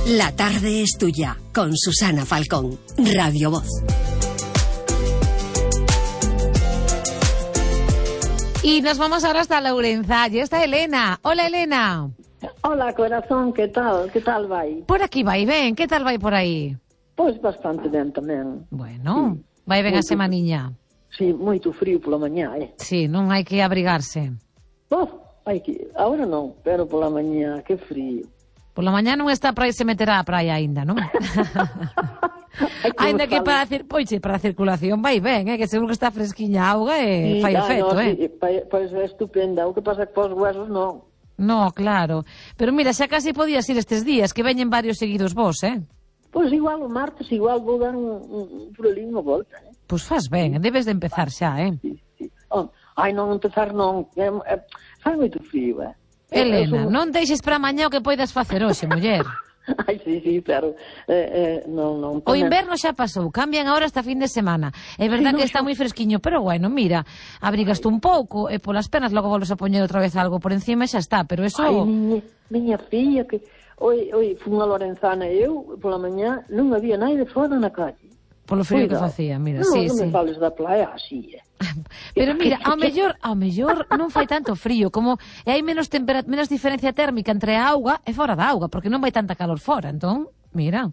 La tarde es tuya, con Susana Falcón, Radio Voz. Y nos vamos ahora hasta Lourenza. Allí está Elena. Hola, Elena. Hola, corazón, ¿qué tal? ¿Qué tal vai? Por aquí vai ben, que tal vai por aí? Pois bastante ben tamén. Bueno, vai ben a semaniña. Sí, moito frío pola mañá, Sí, non hai que abrigarse. Hai que, agora non, pero pola mañá, que frío. Pola mañá non está para se meter á praia aínda, non? Ainda que para a circulación vai ben, que seguro que está fresquiña a auga e fai efecto, Sí, pois é estupenda, o que pasa que pos huesos non. No, claro. Pero mira, xa casi podías ir estes días, que veñen varios seguidos vos, Pois igual o martes, igual vou dar un por ali unha volta, Pois faz ben, debes de empezar xa, Sí. Ai, non empezar non, fai moito frío, Elena, non deixes para mañá o que poidas facer hoxe, muller. Ai, sí, pero non. O inverno xa pasou, cambian agora esta fin de semana. É verdad que está moi fresquiño, pero bueno, mira, abrigaste un pouco e polas penas logo volves a poñer outra vez algo por encima e xa está, pero eso... Ai, miña filla, que oi, fun a Lorenzana e eu, pola mañá, non había naide fora na calle. Polo frío que facía, mira, sí. Non me fales da playa así, Pero mira, ao mellor non fai tanto frío, como e hai menos diferencia térmica entre a auga e fora da auga, porque non vai tanta calor fora, entón, mira.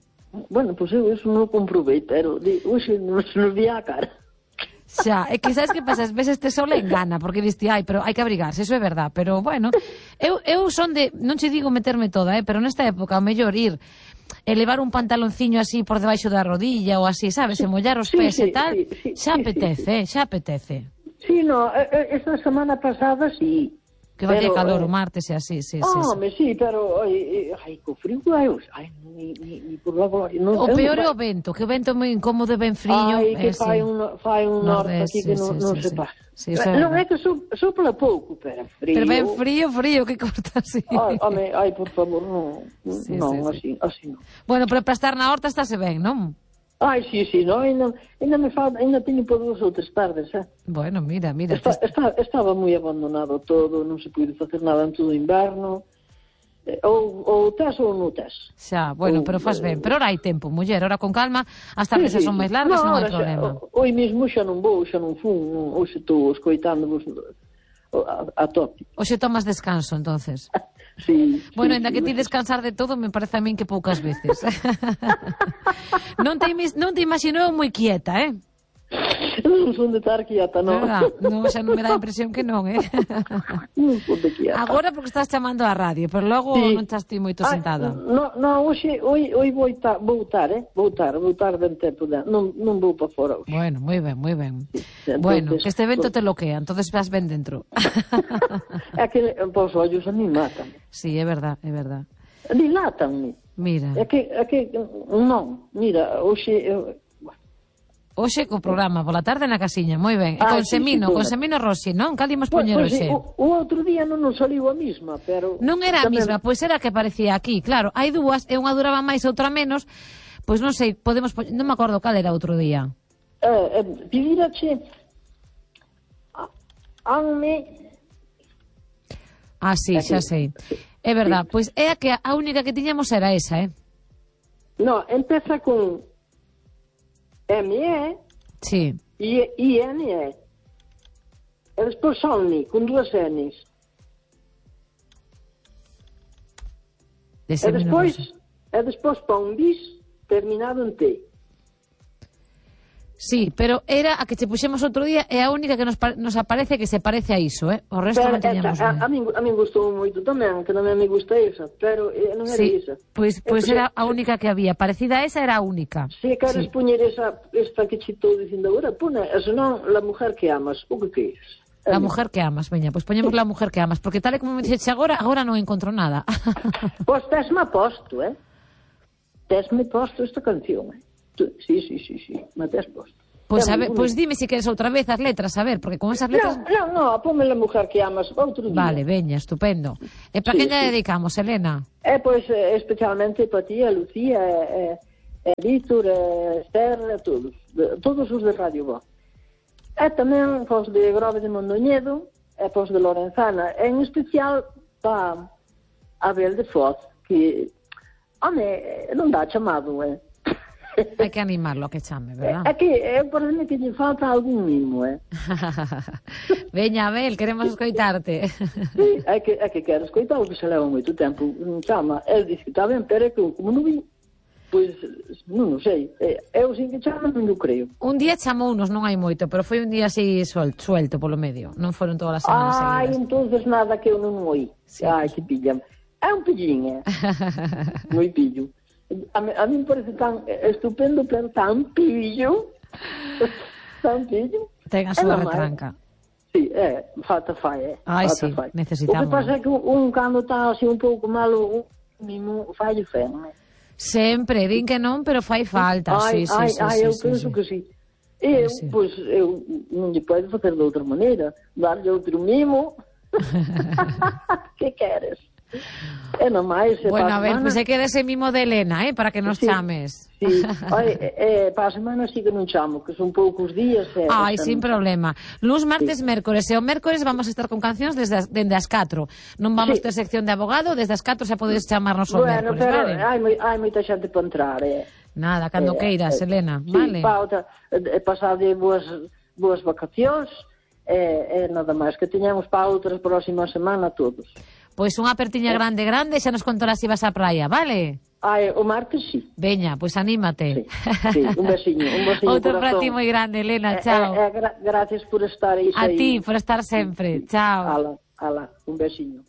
Bueno, pois eu eso non o comprobei, pero hoxe nos vi a cara. Xa, é que sabes que pasa, ás veces te sol engana, porque diste, pero hai que abrigarse, eso é verdad, pero bueno, eu son de, non che digo meterme toda, pero nesta época, ao mellor ir e levar un pantalonciño así por debaixo da rodilla ou así, sabes, e mollar os pés e tal, xa apetece. Sí, no, esta semana pasada sí. Que vai calor o martes e así, sí. Sí, pero ai, co frío, ni por la gloria. O peor é o vento, que o vento é moi incómodo e ben frío. Ai, que fai un norte aquí que non se pasa. Non é que sopla pouco, pero frío. Pero ben frío, que corta así. Ai, por favor, non, así non. Bueno, pero para estar na horta estáse ben, non? Ai, sí, non, ainda teño por 2 ou 3 tardes, Bueno, mira. Estaba moi abandonado todo, non se puide facer nada en todo o inverno, ou tes ou non tes. Xa, bueno, pero faz ben, pero ora hai tempo, muller, ora con calma, as tardes son máis largas, non hai problema. Hoy mesmo xa non fun, hoxe estou escoitándovos a tope. Hoxe tomas descanso, entonces. Sí, bueno, ainda que ti descansar de todo, me parece a min que poucas veces. Non te imagino moi quieta, Non son de estar quieta, non. Non, xa non me dá a impresión que non, Non son de quieta. Agora porque estás chamando á radio, pero logo non estás ti moito sentada. Non, hoxe vou estar ben tempo, non vou para fora hoxe. Bueno, moi ben. Bueno, que este evento te loquea, entonces vas ben dentro. É que os ollos a mí matan. Sí, é verdad. Dilátanme. Mira. É que non, mira, Hoxe co programa, pola tarde na casiña, moi ben. E con Semino Rossi, non? Cal imos poñer hoxe? O outro día non nos saliu a mesma, pero... Non era a mesma, pois era a que aparecía aquí, claro. Hai dúas, e unha duraba máis e outra menos, pois non sei, podemos poñer... Non me acordo cal era outro día. Pidirache... Sí, xa sei. É verdad, pois é a que a única que tiñamos era esa, No, empeza con... M-E sí. I-N-E. E despois Sonni, con 2 N's. E despois pon bis terminado en T. Sí, pero era a que che puxemos outro día e a única que nos aparece que se parece a iso, O resto non teñamos nada. A min gustou moito tamén, que tamén me gusta esa, pero non era esa. Pois era a única que había, parecida a esa era a única. Se queres poñer esta que che estou dicindo agora, pone, senón, La mujer que amas, o que queres. La mujer que amas, veña, pois poñemos La mujer que amas, porque tal e como me dixeche agora non encontro nada. Pois tesme posto, Tesme posto esta canción, Sí, me tes posto. Pois dime se queres outra vez as letras, a ver, porque con esas letras... Non, ponme La mujer que amas outro día. Vale, veña, estupendo. E para quen lle dedicamos, Elena? Pois especialmente para ti, a Lucía, Víctor, Esther, todos os de Radio Voz. E tamén pos de Grove de Mondoñedo, e pos de Lorenzana, en especial para Abel de Foz, que Home, non dá chamado, Hai que animarlo a que chame, verdad? É que parece que lle falta algún mimo, Veña, Abel, queremos escoitarte. Sí, é que quero escoitar o que se leva moito tempo. Chama, el dice que está ben, pero é que como non vi, pois, non sei. Eu sin que chama non o creo. Un día chamounos, non hai moito, pero foi un día así suelto polo medio. Non foron todas as semanas seguidas. Entonces nada que eu non oí. Sí. Ai, que pillan. É un pillín, moi pillo. A mí me parece tan estupendo, pero tan pillo. Tan pillo. Ten a súa retranca. Sí, falta fai, Ai, falta sí, fai. necesitamos. O que pasa é que un cando está así un pouco malo, un mimo fai fen, Sempre, din que non, pero fai falta. Sí, eu penso que sí. Eu, pois, eu non lle podo facer de outra maneira. Darlle outro mimo. Que queres? É nomais. Bueno, a ver, pois é que dese mimo de Elena, para que nos chames. Sí, para a semana sí que non chamo, que son poucos días. Ai, sin problema. Luns, martes, mércores. E o mércores vamos a estar con cancións dende as 4. Non vamos ter sección de abogado, desde as 4 xa podes chamarnos o mércores, pero vale? hai moita xente para entrar, Nada, cando queiras, Elena, sí, vale? Pasar de boas vacacións, nada máis, que teñamos para outra próxima semana todos. Pois unha apertiña grande, xa nos contarás se vas á praia, vale? O martes sí. Veña, pois anímate. Sí, un besiño. Outro para ti moi grande, Elena, chao. Gracias por estar aí. A ti, por estar sempre, chao. Ala, un besiño.